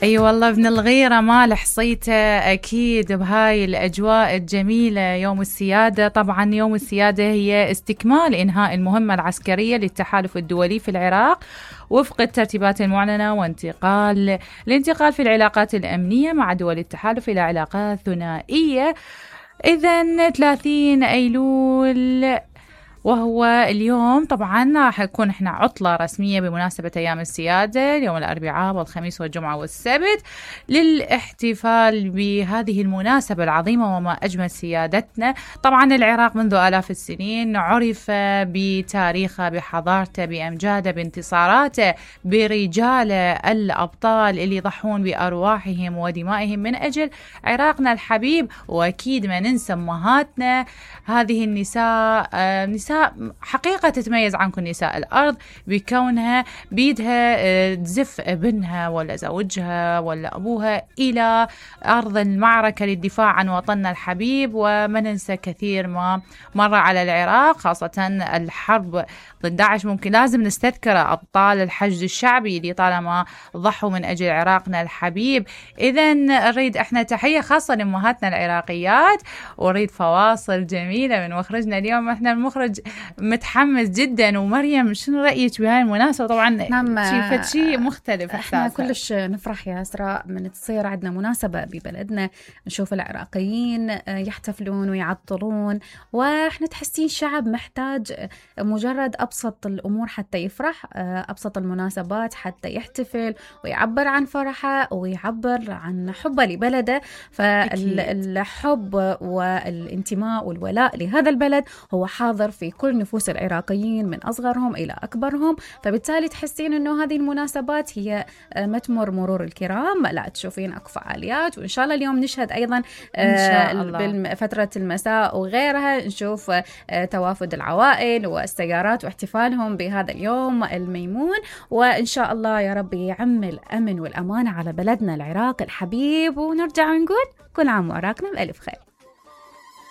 اي والله ابن الغيرة ما لحصيته اكيد بهاي الاجواء الجميلة. يوم السيادة، طبعا يوم السيادة هي استكمال انهاء المهمة العسكرية للتحالف الدولي في العراق وفق الترتيبات المعلنة، الانتقال في العلاقات الأمنية مع دول التحالف إلى علاقات ثنائية. إذن 30 أيلول وهو اليوم طبعا راح يكون احنا عطلة رسمية بمناسبة أيام السيادة، اليوم الأربعاء والخميس والجمعة والسبت، للاحتفال بهذه المناسبة العظيمة وما أجمل سيادتنا. طبعا العراق منذ آلاف السنين عرف بتاريخه، بحضارته، بأمجاده، بانتصاراته، برجاله الأبطال اللي يضحون بأرواحهم ودمائهم من أجل عراقنا الحبيب. وأكيد ما ننسى أمهاتنا، هذه النساء نساء حقيقة تتميز عن كل نساء الأرض بكونها بيدها تزف ابنها ولا زوجها ولا أبوها إلى أرض المعركة للدفاع عن وطننا الحبيب. وما ننسى كثير ما مر على العراق، خاصة الحرب ضد داعش. ممكن لازم نستذكر أبطال الحشد الشعبي اللي طالما ضحوا من أجل عراقنا الحبيب. إذن نريد احنا تحية خاصة لأمهاتنا العراقيات، ونريد فواصل جميلة من مخرجنا اليوم. احنا المخرج متحمس جدا. ومريم شنو رأيك بهاي المناسبة؟ طبعا شيء مختلف. احنا كلش نفرح يا أسراء من تصير عندنا مناسبة ببلدنا، نشوف العراقيين يحتفلون ويعطلون، واحنا تحسين شعب محتاج مجرد أبسط الأمور حتى يفرح، أبسط المناسبات حتى يحتفل ويعبر عن فرحه ويعبر عن حبه لبلده. فالحب والانتماء والولاء لهذا البلد هو حاضر في كل نفوس العراقيين من أصغرهم إلى أكبرهم. فبالتالي تحسين أنه هذه المناسبات هي ما تمر مرور الكرام، لا تشوفين أكو فعاليات. وإن شاء الله اليوم نشهد أيضا بفترة المساء وغيرها نشوف توافد العوائل والسيارات واحتفالهم بهذا اليوم الميمون. وإن شاء الله يا رب يعم الأمن والأمان على بلدنا العراق الحبيب، ونرجع ونقول كل عام وعراقنا بألف خير.